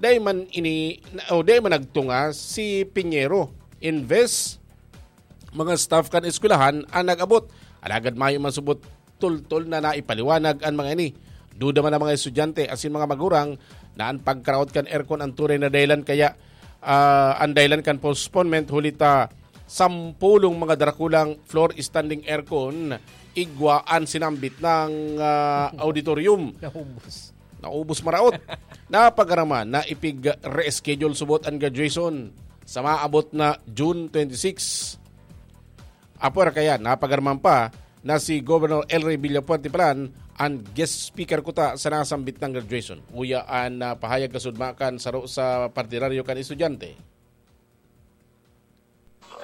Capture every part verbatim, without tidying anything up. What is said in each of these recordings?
Dai man ini, o dai man nagtunga si Piñero. Imbes mga staff kan eskwelahan an nag-abot. Alagad mayo man subot tultol na naipaliwanag an mga ini. Duda man ang mga estudyante asin mga magurang na an pagkaraot kan aircon an tunay na dahilan kaya, ah, an dahilan kan postponement huli ta sampulong mga drakulang floor standing aircon igwa an sinambit ng, ah, auditorium. Naubos. Naubos maraot. Napagaraman na ipig-reschedule subot an graduation sa maabot na June twenty-six. Apwera kaya, napagaraman pa na si Governor El Rey Villafuerte Palan an guest speaker kuta sa nasambit na graduation. Uya an, ah, pahayag kasudma kan saro sa partidaryo kan estudyante.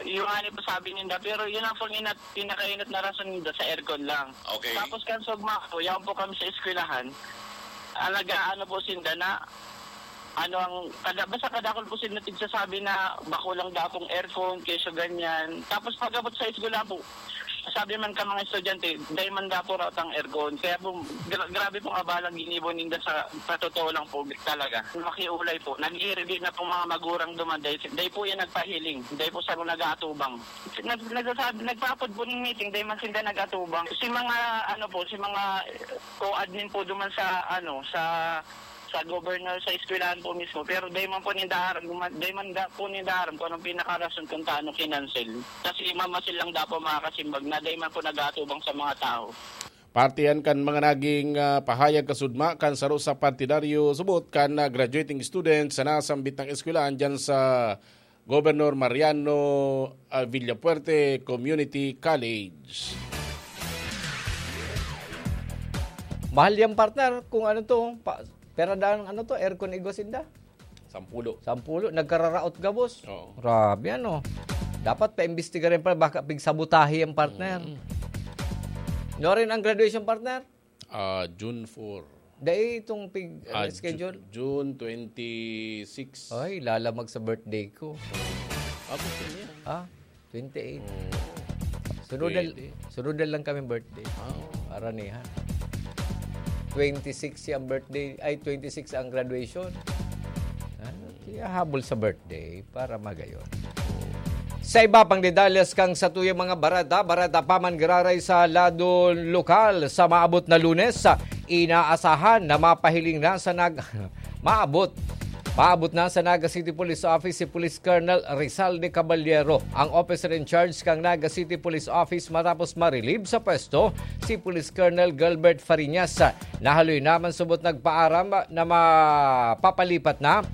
Yung nga po sabi ninda, pero yun ang pong inat, pinakainat na rason ninda sa aircon lang. Okay. Tapos kan sugma po, yaon po kami sa eskwelahan. Alaga ano po sinda na, ano ang, kada, basta kadakol po sinda tigsasabi na bako lang daw pong aircon, kesyo ganyan. Tapos pag-abot sa eskwela po, sabi man ka mga estudyante, dahil man daw po raw tang aircon. Kaya po, gra- grabe pong abalang ginibo ninda sa, sa totoo lang po talaga. Makiulay po, nag-iirigit na pong mga magurang duman dahil, dahil po yan nagpahiling, dahil po sa nag-aatubang. Nag, nagsasabi, nagpaapod po ng meeting, dahil man sila nag-atubang. Si mga, ano po, si mga co-admin po duman sa, ano, sa sa governor sa eskwelahan po mismo, pero dahil man po ninda aram, dahil man da, po ninda aram kung anong pinakarason kung taano kinansel. Kasi mamasil lang daw po mga kasimbag na dahil man po nag-aatubang sa mga tao. Parte yan kan mga naging, ah, pahayag kasudma kan saro sa partidaryo subot kan, ah, graduating student sa nasambit na eskwelahan dyan sa Governor Mariano, ah, Villafuerte Community College. Mahal yan, partner, kung ano to, pa, pera daan ano to, aircon igwa sinda. Sampulo. Sampulo, nagkararaot gabos. Oo. Grabe ano. Dapat paimbestigarin pa, baka pigsabotahe yan, partner. Mm. No rin ang graduation, partner? Ah, June four. Dai itong pig Ah, schedule? Ju- June twenty-six. Ay, lalamag sa birthday ko. Abot yun yan. Ah, twenty-eight. Oo. Sunod na, Pwede. sunod na lang kami birthday. Ah, oo. Karanihan. Twenty-six ang birthday, ay twenty-six ang graduation. Ano? Kaya habol sa birthday para magayon. Sa iba pang detalles kang satuyang mga bareta, bareta pa man giraray sa lado lokal sa maabot na Lunes, inaasahan na mapahiling na sa nag maabot. Maabot na sa Naga City Police Office si Police Colonel Rizal de Caballero, ang officer in charge kang Naga City Police Office matapos ma-relieve sa pwesto si Police Colonel Gilbert Fariñas. Nahaloy naman subot nagpaaram na mapapalipat na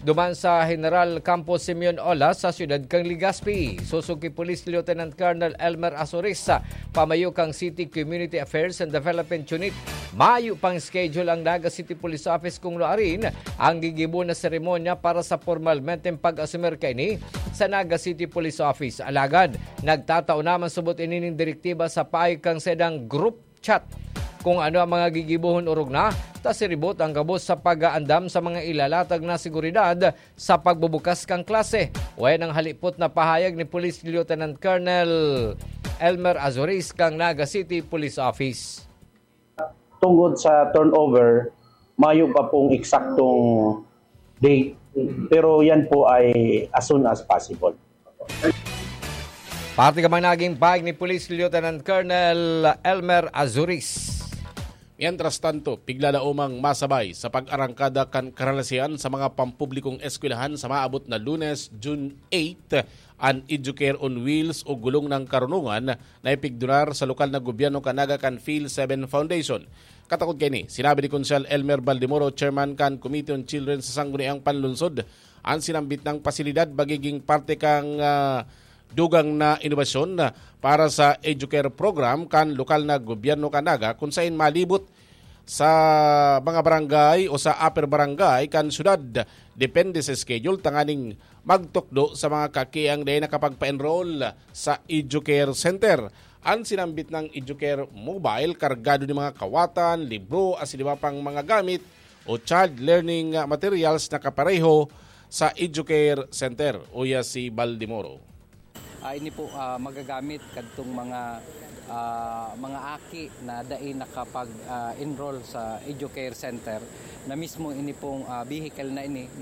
duman sa General Campo Simeon Olas sa siyudad kan Legazpi. Susuki Police Lieutenant Colonel Elmer Azuris, pamayo kan City Community Affairs and Development Unit, mayo pang schedule ang Naga City Police Office kung nuarin ang gigibo na seremonya para sa pormalmenteng pag-asumir kaini sa Naga City Police Office. Alagad, nagtatao naman subot ini nin direktiba sa payo kan saindang group chat kung ano ang mga gigibohon orog na, ta siribot ang gabos sa pag-aandam sa mga ilalatag na seguridad sa pagbubukas kan klase. Wayan ang halipot na pahayag ni Police Lieutenant Colonel Elmer Azuris kang Naga City Police Office. Tungod sa turnover, mayo pa pong eksaktong date, pero yan po ay as soon as possible. Parte ka man naging pahayag ni Police Lieutenant Colonel Elmer Azuris. Mientras tanto, piglalaomang masabay sa pag-arangkada kan karalasian sa mga pampublikong eskwelahan sa maabot na Lunes, June eight, an Educare on Wheels o Gulong ng Karunungan na ipigdonar sa lokal na gobyerno kan Naga kan Phil seven Foundation. Katakod kaini, sinabi ni Konsehal Elmer Baldemoro, chairman kan Committee on Children sa Sangguniang Panlunsod, an sinambit na pasilidad magiging parte kan, ah, dugang na inobasyon, ah, para sa Educare program kan lokal na gobyerno kan Naga, kun saen malibot sa mga barangay o sa upper barangay kan syudad, depende sa schedule, tanganing magtukdo sa mga kakiang dai nakapagpa-enroll sa Educare Center. An sinambit na Educare Mobile, kargado nin mga kawatan, libro, asin iba pang mga gamit o child learning materials na kapareho sa Educare Center, uya si Baldemoro. Ah, ini po, ah, magagamit kadtong mga, ah, mga aki na dai nakapag, ah, enroll sa Educare Center, na mismo ini pong, ah, vehicle na ini